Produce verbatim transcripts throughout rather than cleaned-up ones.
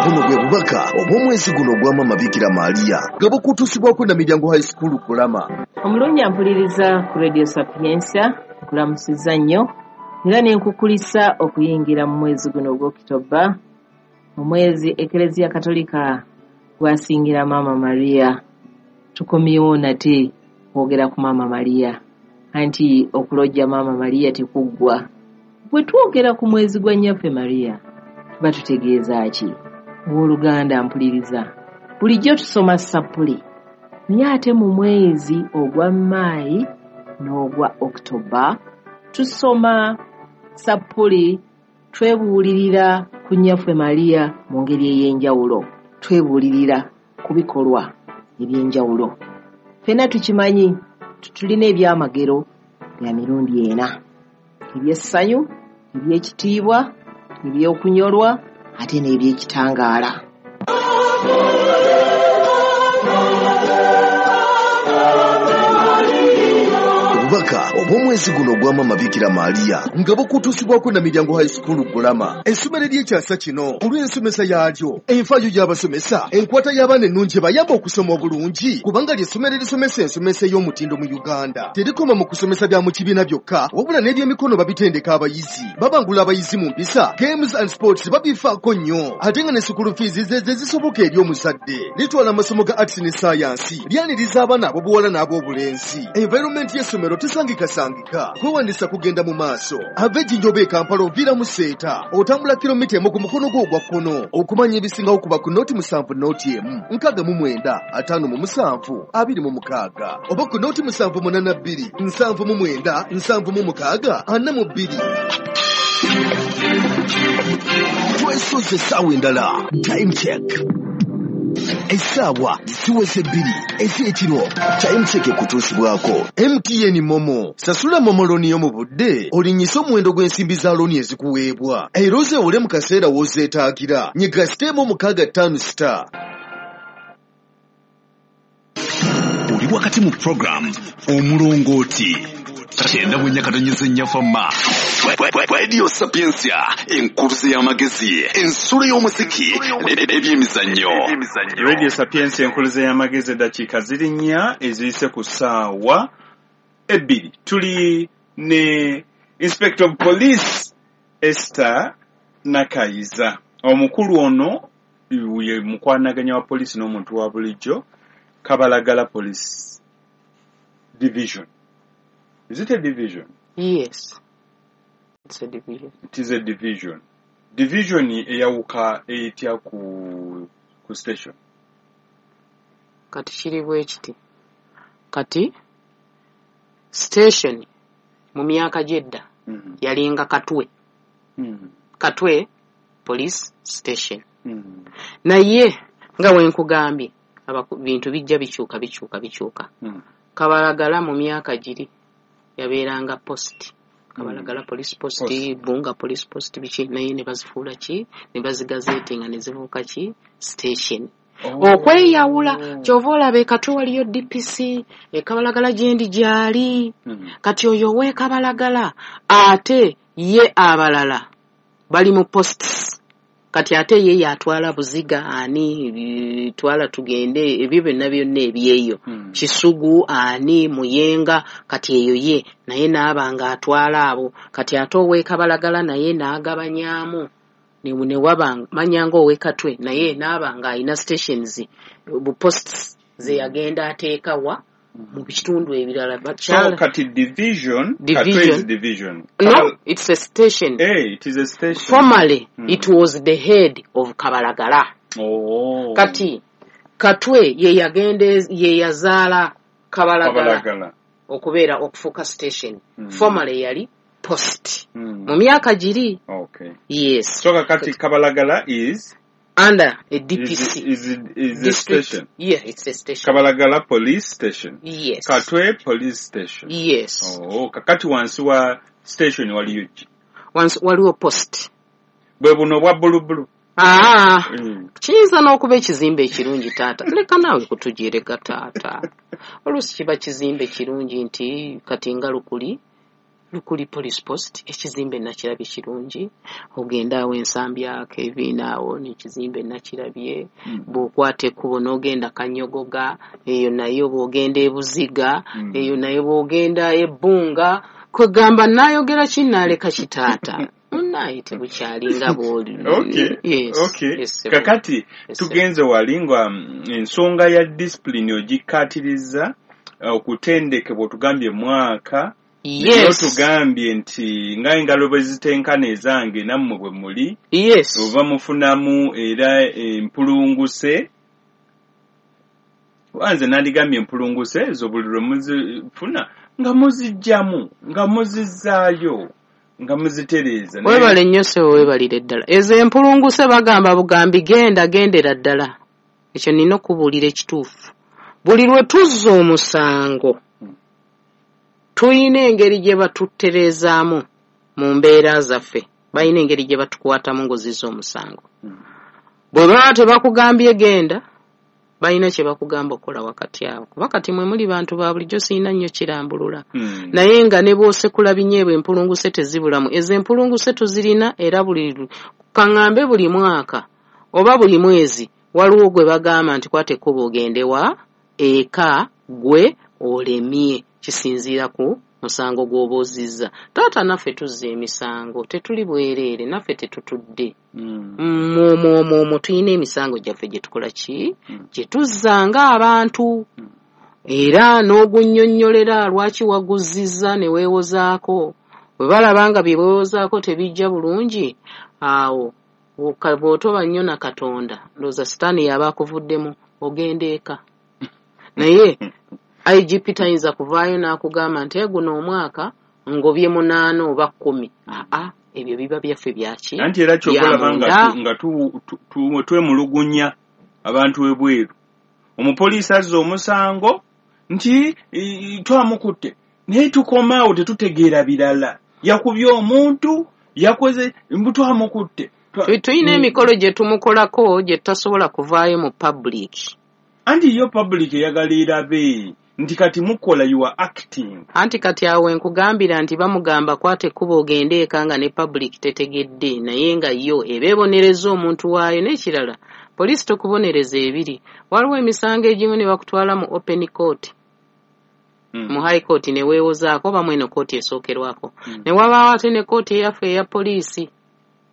Buno bwe bubaka obw'omwezi guno ogwa Maama Bikira Maria nga bukutuusibwako na Miryango High School Kulama. Omulungi ampuliriza ku Radio Sapientia, nkulamusizza nnyo era ne nkukulisa okuyingira mu mwezi guno ogw'Okitoba, omwezi Eklezia Katolika gwasingira Maama Maria. Tukomyewo nate kwogera ku Maama Maria, anti okulojja Maama Maria tekuggwa. Bwe twogera ku mwezi gwa Nnyaffe Maria tuba tutegeeza ki? Owooluganda mpuliriza, bulijjo tusoma sappuli, naye ate mu mwezi ogwa Maayi n'ogwa Okitoba tusoma sappuli, twebuulirira ku Nnyaffe Maria mu ngeri ey'enjawulo, twebuulirira ku bikolwa eby'enjawulo. Ffenna tukimanyi tulina ebyamagero bya mirundi ena: eby'essanyu, eby'ekitiibwa, eby'okunyolwa ate n'ebyekitangaala. Obubaka obw'omwezi guno ogwa Maama Bikira Maria nga bukutuusibwako na Miryango High School Kulama, essomero ery'ekyasa kino olw'ensomesa yaalyo, enfaayo y'abasomesa, enkwata y'abaana ennungi ebayamba okusoma obulungi, kubanga ly'essomero erisomesa ensomesa ey'omutindo mu Uganda. Terikoma mu kusomesa bya mu kibiina byokka, wabula n'ebyemikono babitendeka abayizi, babangula abayizi mu mpisa, games and sports babifaako nnyo, ate nga ne school fees ze ze zisoboka eri omuzadde. Litwala amasomo ga arts ne science, lyaniriza abaana ab'obuwala n'ab'obulenzi. Environment y'essomero tesangikasangika, kwewandisa kugenda mu maaso. Ava Ejjinja oba e Kampala oviira mu Seeta, otambula kilomita emu ku mukono gwo ogwa kkono. Okumanya ebisingawo kuba ku nooti musanvu nooti emu nkaaga mu mwenda ataano mu musanvu abiri mu mukaaga, oba ku nooti musanvu munaana bbiri nsanvu mu mwenda nsanvu mu mukaaga ana mu bbiri. Twesoze essaawa endala. Time check. Essaawa ziweze bbiri ez'ekiro. Time check ekutuusibwako M T N Momo. Sasula Momo looni yo mu budde, olinnyise omuwendo gw'ensimbi za looni ezikuweebwa, era ozeewole mu kaseera w'ozeetaagira. Nyiga siteemu mukaaga ttaano star. Oli wakati mu program Omulongooti kyenda bwenya katonyeze nnyafa ma Radio Sapientia, enkuluze y'amagezi, ensulo y'omuziki n'ebyemizannyo. Radio Sapientia, enkuluze y'amagezi, eddakiika ziri nnya eziyise ku ssaawa ebbiri. Tuli ne Inspector of Police Esther Nakayiza. Omukulu ono ye mukwanaganya wa poliisi n'omuntu wa bulijjo, Kabalagala Police Division. Is it a division? Yes. It's a division. It is a division. Division eyawuka etya ku, ku station? Kati kiri bwe kiti. Kati station mu myaka gy'edda mm -hmm. yalinga Katwe. Mm -hmm. Katwe police station. Mm -hmm. Naye nga we nkugambye bintu bijja bikyuka bikyuka bikyuka. Mm -hmm. Kabalagala mu myaka giri yabeeranga post. Kabalagala mm. police post, post, Bunga police post biki, naye ne bazifuula ki, ne bazigazetinga ne zifuuka ki station. Oh. Okweyawula kyova olaba e Katwe waliyo D P C, e Kabalagala gyendi gyali. Mm. Kati oyo ow'e Kabalagala ate ye abalala bali mu posts. Kati ate ye yatwala Buziga ani twala tugende ebyo byonna byonna ebyeyo. Mm. Kisugu ani Muyenga, kati eyo ye naye n'aba nga atwala abo. Kati ate ow'e Kabalagala naye n'agabanyaamu ne ne waba manyanga ow'e Katwe naye n'aba nga alina stations bu posts ze yagenda ateeka wa mu bitundu ebirala. So kati division, division. Katwe is division. No, it's a station. Hey, it is a station. Formerly, mm. it was the head of Kabalagala. Oh. Kati Katwe ye yagende ye yazaala Kabalagala, Kabalagala okubeera okufuuka station. Mm. Formerly yali post. Mm. Mu myaka giri. Okay. Yes. So kati Kabalagala is under a D P C. Is, is, is a station. Yeah, it's a station. Kabalagala Police Station. Yes. Katwe Police Station. Yes. Oh, kakati wansi wa station waliyo ki? Wansi waliwo post. Bwe buno bwa bulubulu. Ah, mm. Kiyinza n'okuba ekizimbe ekirungi taata. Leka naawe kutugireka taata. Oluusi kiba kizimbe kirungi nti kati nga Lukuli Lukuli Police Post, ekizimbe nakirabye kirungi. Ogenda awo Ensambya Kevin awo n'ekizimbe nakirabye. Mm. Bw'okwata ekkubo n'ogenda Kanyogoga, eyo nayo bw'ogenda e Buziga, Mm. eyo nayo bw'ogenda e Bbunga. Kwegamba naayogera ki naaleka kitaata. Munaaye tebukyali nga bw'oli. Okay. Yes. Okay. Yes, sir. Kakati Yes, sir. tugenze wali nga mm, ensonga ya discipline ogikkaatiriza, okutendekebwa otugambye mwaka. Naye Yes. otugambye nti nga engalo bwe zitenkana ezange nammwe bwe muli. Yes. Oba mufunamu era empulunguse. Nze nandigambye empulunguse ezo buli lwe muzifuna nga muziggyamu, nga muzizzaayo, nga muzitereeza. Naye- Weebale nnyo ssebo, weebalire ddala. Ezo empulunguse bagamba bugambi genda, gendera ddala. Ekyo nina okubuulira ekituufu. Buli lwe tuzza omusango, tulina engeri gye batutereezaamu mu mbeera zaffe. Balina engeri gye batukwatamu ng'ozizza omusango. Bwe baba tebakugambye genda, balina kye bakugamba okukola wakati awo. Kuba kati mwe muli bantu ba bulijjo, sirina nnyo kirambulula. Hmm. Naye nga ne bw'osekula binyeebwa, empulunguse tezibulamu. Ezo empulunguse tuzirina era buli kaŋŋambe buli mwaka oba buli mwezi waliwo gwe bagamba nti kwata ekkubo ogende wa eka gwe olemye, kisinziira ku musango gw'oba ozizza. Taata naffe tuzza emisango, tetuli bwereere, naffe tetutudde. Mm. Omwo omwo omwo tulina emisango gyaffe gye tukola ki? Mm. Gye tuzza ng'abantu. Era n'ogunnyonnyolera lwaki waguzizza ne weewozaako. Bwe balaba nga bye weewozaako tebijja bulungi, awo bw'oka- bw'otoba nnyo na Katonda, ndowooza Sitaani y'aba akuvuddemu, ogenda eka. Naye I G P tayinza kuvaayo n'akugamba nti guno omwaka ngobye munaana oba kkumi. Aa, ebyo biba byaffe byaki? Anti era ky'oba olaba nga Bya tu-, nga tu-, tu-, tu-, twemulugunya abantu ebweru. Omupoliisi azza omusango nti, i-, twamukutte, naye tukomaawo tetutegeera birala. Yakubye omuntu, yakoze, mbu twamukutte. Twa- Tu-, tulina Mm. emikolo gye tumukolako gye tutasobola kuvaayo mu public. Anti yo public eyagala erabe nti kati mukola, you are acting. Anti kati awo nkugambira nti bamugamba kwata ekkubo ogende eka nga ne public tetegedde, naye nga yo eba ebonereza omuntu waayo. N'ekirala, poliisi tokubonereza ebiri. Waliwo emisango egimu ne bakutwala mu open court. Mm. Mu high court ne weewozaako oba mweno kooti esookerwako. Mm. Ne wabaawo ate ne kooti eyaffe eya poliisi.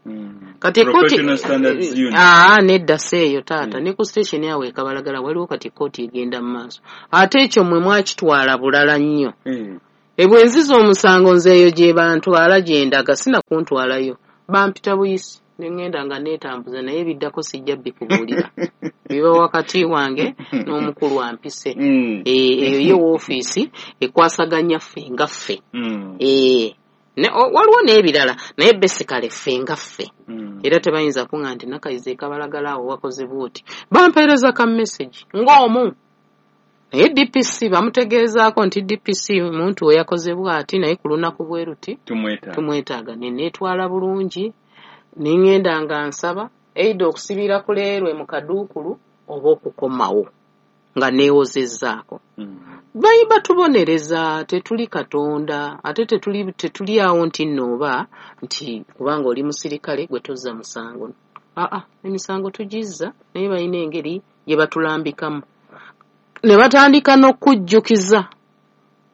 Mm. Kati kooti Professional Standards Union. Aa, nedda si eyo taata. Mm. Ne ku station awo e Kabalagala waliwo kati kooti egenda mu maaso. Ate ekyo mmwe mwakitwala bulala nnyo. Mm. Ebwe nziza omusango nze eyo gye bantwala gye ndaga, sina kuntwalayo. Bampita buyisi ne ŋŋenda nga neetambuza, naye ebiddako sijja bikubuulira. Biba wakati wange n'omukulu ampise. Mm. Eh, eyo ye woofiisi ekwasaganya ffe nga ffe. Mm. Eh, ne, o, waliwo n'ebirala, naye basically ffe nga ffe. Mm. Era tebayinza kuŋŋamba nti Nakayiza e Kabalagala awo wakoze bw'oti. Bampeereza ka message ng'omu. Naye D P C bamutegeezaako nti D P C muntu we yakoze bw'ati, naye ku lunaku bwe luti Tumwetaaga. tumwetaaga. Ne neetwala bulungi, ne ŋŋenda nga nsaba either okusibira ku leerwe mu kaduukulu oba okukomawo nga neewozezzaako. Mm. Bayi batubonereza, tetuli Katonda, ate tetuli, tetuli awo nti nno oba nti kubanga oli musirikale gwe tozza musango. Aa, emisango tugizza, naye balina engeri gye batulambikamu. Ne batandika n'okujjukiza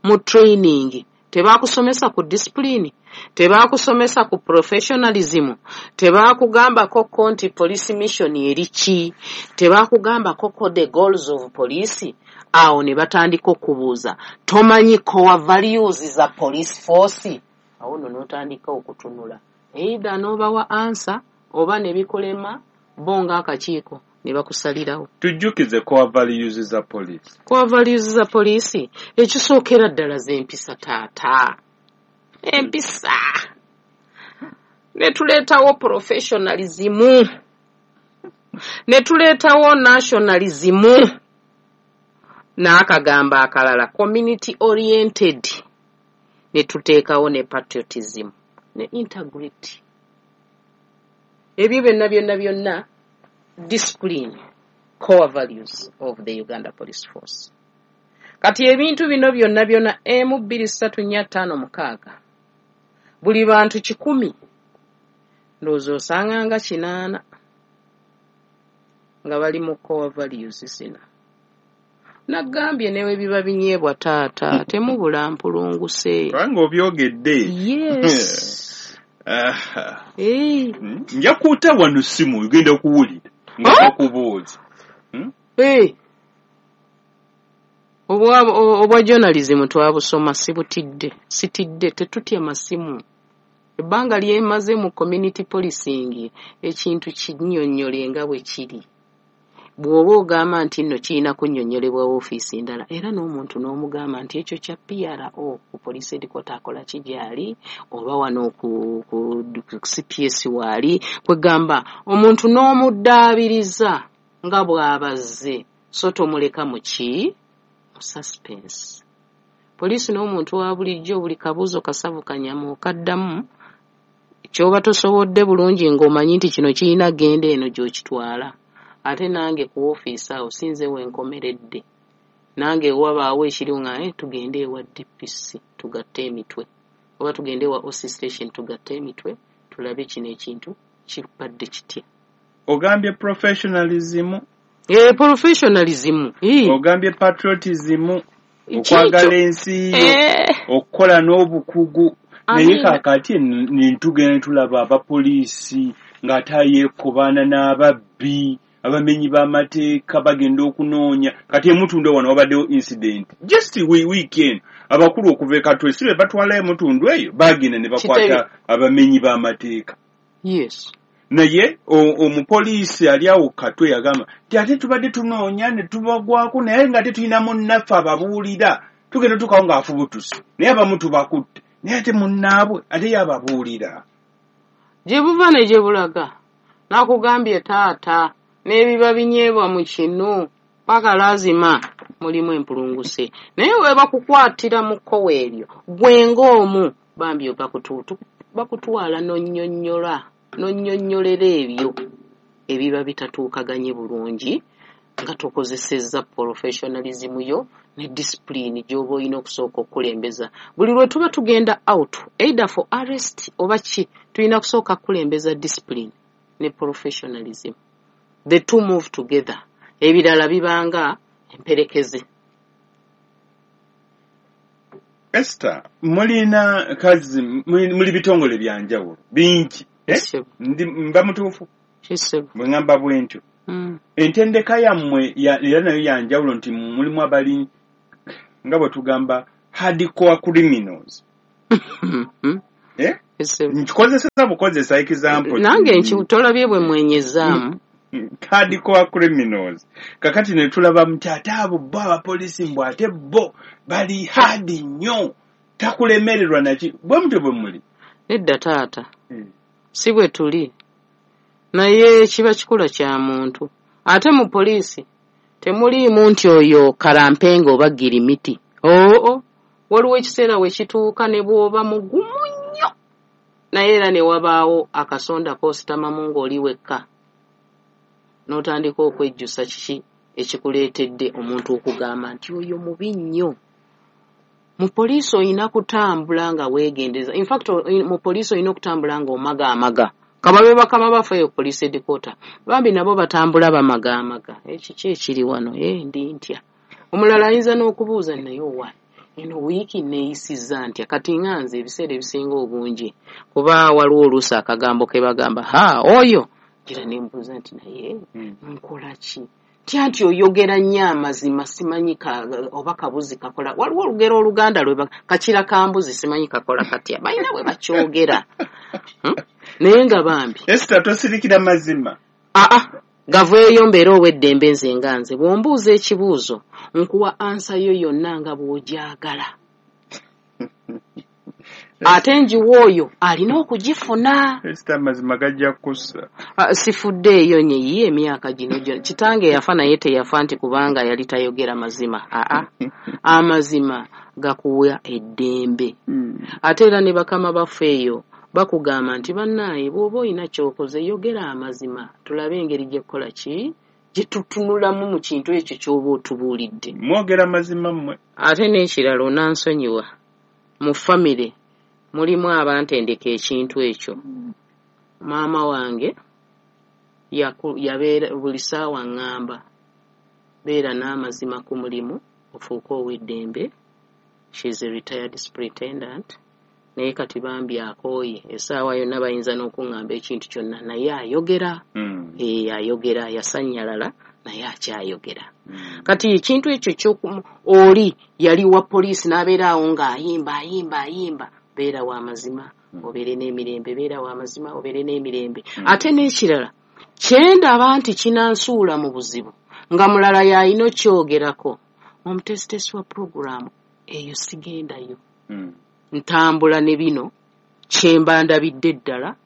mu training. Tebakusomesa ku discipline, tebakusomesa ku professionalism, tebakugambako ko nti police mission eri ki, tebakugambako ko the goals of police. Awo ne batandika okubuuza, tomanyi core values za police force? Awo nno n'otandika okutunula, either n'obawa answer oba ne bikulema bo ng'akakiiko ne bakusalirawo. Tujjukize core values za police. Core values za police ekisookera ddala z'empisa taata. Empisa. Ne tuleetawo professionalism. Ne tuleetawo nationalism. N'akagamba akalala community oriented. Ne tuteekawo ne patriotism ne integrity. Ebyo byonna byonna byonna discipline, core values of the Uganda Police Force. Kati ebintu bino byonna byonna emu bbiri ssatu nnya ttaano mukaaga Buli bantu kikumi ndowooza osanga nga kinaana nga bali mu core values zino. Nagambye newe biba binyeebwa taata, temubula mpulunguse. Kubanga obyogedde. Yes. Aha. Eh. Nja kuta wano simu ogenda kuwulira nga bakubuuza. Eh. Obwa, obwa journalism twabusoma sibutidde, sitidde, tetutya masimu. Ebbanga lyemaze mu community policing ekintu kinnyonnyole nga bwe kiri. Bw'oba ogamba nti nno kirina kunnyonnyolebwa woofiisi ndala, era n'omuntu n'omugamba nti ekyo kya P R O ku police headquarter akola ki gy'ali, oba wano ku, ku, ku C P S waali, kwegamba omuntu n'omuddaabiriza nga bw'abazze, so tomuleka mu ki? Mu suspense. Poliisi n'omuntu wa bulijjo buli kabuuzo kasavu kanyama okaddamu, ky'oba tosobodde bulungi ng'omanyi nti kino kirina genda eno gy'okitwala. Ate nange ku woofiisi awo sinze wenkomeredde. Nange wabaawo ekiriwo nga, eh, tugende ewa D P C tugatte emitwe, oba tugende ewa O C station tugatte emitwe tulabe kino ekintu kibadde kitya. Ogambye professionalism. Eh, professionalism. Eh. Ogambye patriotism, Ekyo. okwagala ensi yo, Eh. okukola n'obukugu. Naye Amiina. kaakati ne tugenda tulaba abapoliisi ng'ate yeekobaana n'ababbi, abamenyi b'amateeka bagenda okunoonya. Kati emutundu wano wabaddewo incident just we weekend, abakulu okuva e Katwe si be batwala emutundu eyo, bagenda ne bakwata Kitebe. abamenyi b'amateeka. Yes. Naye omupoliisi ali awo Katwe yagamba nti ate tubadde tunoonya ne tubagwako, naye nga tetulina munnaffe ababuulira, tugenda tukawo ng'afubutuse, naye abamu tubakutte, naye ate munnaabwe ate ye ababuulira. Gye buva ne gye bulaga, nakugambye taata, n'ebiba binyeebwa mu kinu paka lazima mulimu empulunguse. Naye we bakukwatira mu kkowe eryo, gwe ng'omu bambi bakutu-, bakutwala n'onnyonnyola, n'onnyonnyolera ebyo ebiba bitatuukaganye bulungi nga tokozesezza professionalism yo ne discipline gy'oba olina okusooka okukulembeza. Buli lwe tuba tugenda out, either for arrest oba ki, tulina kusooka kukulembeza discipline ne professionalism. The two move together. Ebirala bibanga emperekeze. Esther, mulina kazi, muli bitongole bya njawulo bingi. Eh? Kisebo. Ndi mba mutuufu? Kisebo. Bwe ngamba bwe ntyo. Mm. Entendeka yammwe ya, era nayo ya njawulo nti mulimu abali nga bwe tugamba hardcore criminals. Mm-hmm. Eh? Kisebo. Nkikozesa bukozesa example. Nange nki tolabye bwe mwenyezaamu. Hardcore criminals. Kakati ne tulaba nti ate abo bo abapoliisi mbw ate bo bali hard nnyo, takulemererwa naki. Bwe mutyo bwe muli? Nedda taata. Mm. Si bwe tuli. Naye kiba kikula kya muntu. Ate mu poliisi temuliimu nti oyo kalampenga oba girimiti. Oo, waliwo ekiseera we kituuka ne bw'oba mugumu nnyo, naye era ne wabaawo akasonda k'ositamamu ng'oli wekka, n'otandika okwejjusa kiki ekikuleetedde omuntu okugamba nti oyo mubi nnyo. Mu poliisi olina kutambula nga weegendereza. In fact, mu poliisi olina okutambula ng'omagaamaga. Kababe bakama baffe eyo police headquarter, bambi nabo batambula bamagaamaga. Ekiki ekiri wano? Eh, ndi ntya. Omulala ayinza n'okubuuza naye owa eno wiiki neeyisizza ntya? Kati nga nze ebiseera ebisinga obungi, kuba waliwo oluusi akagambo ke bagamba, ha, oyo gira ne mbuuza nti naye nkola ki? Ntya nti oyogera nnyo amazima, simanyi ka, oba kabuzi kakola. Waliwo olugero Oluganda lwe ba-, kakira kambuzi simanyi kakola katya. Balina bwe bakyogera. Hmm? Naye nga bambi. Esther, tosirikira mazima. Aa, gaveeyo mbeere ow'eddembe nze nga nze. Bw'ombuuza ekibuuzo, nkuwa ansa yo yonna nga bw'ogyagala. Ate njiwa oyo alina okugifuna. Esther, amazima gajja kussa. Ah, sifuddeeyo nye ye emyaka gino gyonna. Kitange yafa naye teyafa nti kubanga yali tayogera mazima. Aa, amazima gakuwa eddembe. Mm. Ate era ne bakama baffe eyo bakugamba nti bannaaye bw'oba olina ky'okoze yogera amazima, tulabe engeri gy'ekkola ki gye tutunulamu mu kintu ekyo ky'oba otubuulidde. Mwogera mazima mmwe. Ate n'ekirala onansonyiwa, mu famire Mulimu abantendeka ekintu ekyo. Maama wange yabeera buli ssaawa ŋŋamba, beera n'amazima ku mulimu ofuuke ow'eddembe. She is a retired superintendent, naye kati bambi akooye, essaawa yonna bayinza n'okuŋŋamba ekintu kyonna, naye ayogera. Mm. E, ayogera, yasannyalala naye akyayogera. Mm. Kati ekintu ekyo kyoku oli yali wa poliisi n'abeera awo ng'ayimba ayimba ayimba, beera wa mazima obeere n'emirembe, beera wa mazima obeere n'emirembe. Mm. Ate n'ekirala kyendaba nti kinansuula mu buzibu nga mulala y'alina okyogerako, omutesitesi wa puroguraamu eyo sigendayo. Mm. Ntambula ne bino kyemba ndabidde ddala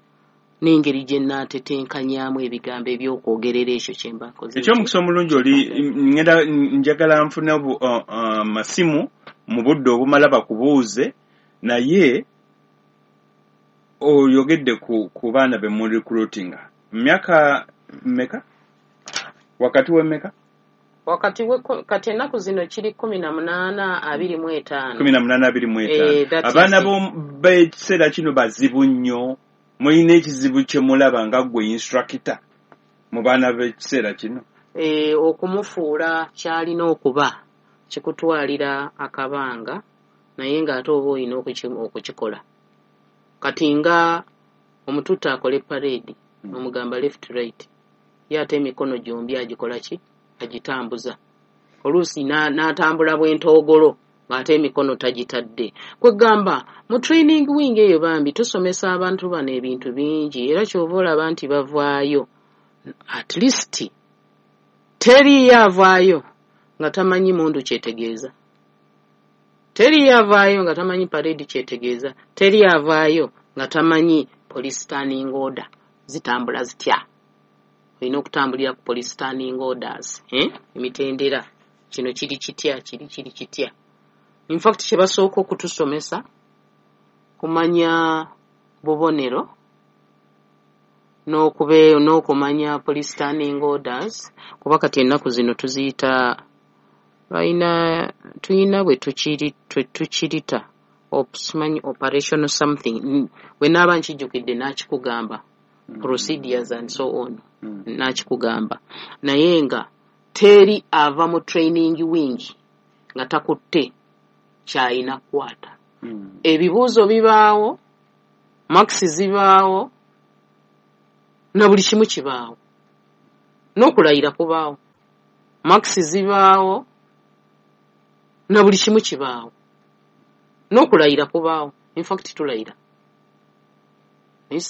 n'engeri gye nnaatetenkanyaamu ebigambo eby'okwogerera ekyo kyemba nkoze. Ekyomukisa omulungi oli ngenda njagala nfune amasimu mu budde obumala bakubuuze, naye oyogedde ku, ku baana be mu recruitinga myaka mmeka, wakati w'emmeka? Wakati we kati ennaku zino kiri kumi na munaana abiri mu etaano. Kumi na munaana abiri mu etaano. Eh, that is Abaana it. b'ekiseera kino bazibu nnyo. Mulina ekizibu kye mulaba nga ggwe instructor mu baana b'ekiseera kino? Eh, okumufuula ky'alina okuba kikutwalira akabanga, naye ng'ate oba olina okukikola. Kati nga omututte akole parade, omugamba left right, ye ate emikono gyombi agikola ki? Agitambuza. Oluusi n'atambula bw'entoogolo ng'ate emikono tagitadde. Kwegamba mu training wing eyo bambi tusomesa abantu bano ebintu bingi, era ky'ova olaba nti bavaayo. At least teriiyo avaayo nga tamanyi mundu kyetegeeza, teriiyo avaayo nga tamanyi parade kyetegeeza, teri avaayo nga tamanyi police standing order zitambula zitya. Olina okutambulira ku police standing orders, eh? Emitendera kino kiri kitya, kiri kiri kitya. In fact kye basooka okutusomesa kumanya bubonero n'okube n'okumanya police standing orders, kuba kati ennaku zino tuziyita balina tuyina bwe tukiri tukirita simanyi operational something, bwe naaba nkijjukidde n'akikugamba, procedures and so on, n'akikugamba. Naye nga teri ava mu training wing nga takutte ky'alina kukwata. Ebibuuzo bibaawo, marks zibaawo, na buli kimu kibaawo, n'okulayira kubaawo, marks zibaawo, na buli kimu kibaawo, n'okulayira kubaawo. In fact tulayira. Naye